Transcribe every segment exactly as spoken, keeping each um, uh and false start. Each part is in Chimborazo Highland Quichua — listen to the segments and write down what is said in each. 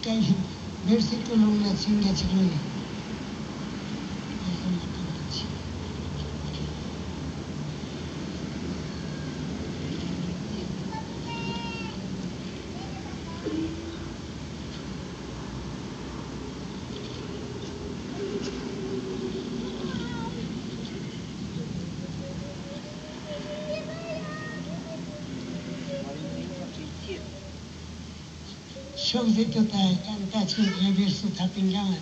Kay versículo una chingachikuni. Shukzituta kantachin kay verso tapinkaman.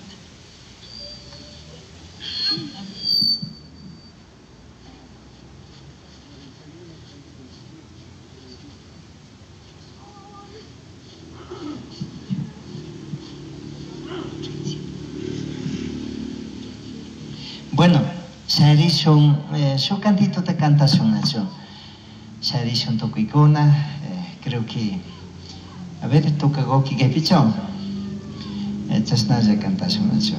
Bueno, sharishun, eh, shuk cantito te cantashun, nacho. Sharishun tukuykuna, eh, creo que, a ver, toca goki kaypicho. Eh, chashnalla cantashun, nacho.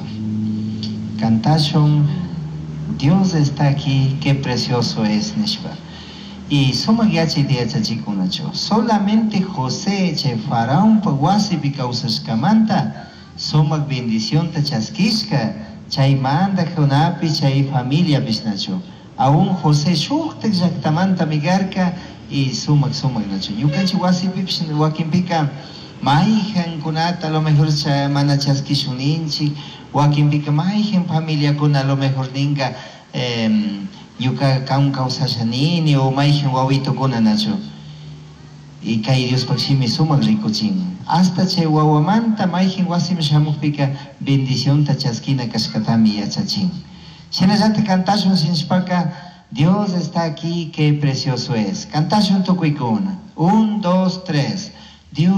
Cantashun, Dios está aquí, qué precioso es, nishpa. Y sumak yachay yachachikunachu. Solamente José chay faraonpa wasipi kawsashkamanta sumak bendicionta chaskishka chay mandajkunapi chay familiapish nachu. Aún José shuktak llaktamanta migarka y sumak sumak nachu. Ñukanchik wasipipish wakinpika mayjankunata a lo mejor cha, mana chaskishuninchik, wakinpika mayjan familiakuna a lo mejor ninka eh, ñuka kan kawsashanini o mayjan wawitukuna nachu. Y kay Diospaq shimi sumak rikuchin. Hasta chay wawamanta mayjan wasiman shamukpika bendicionta chaskina kashkatami yachachin. Shinallatak kantashun shinshpaka Dios está aquí, qué precioso es. Kantashun tukuykuna. Un, dos, tres. Dios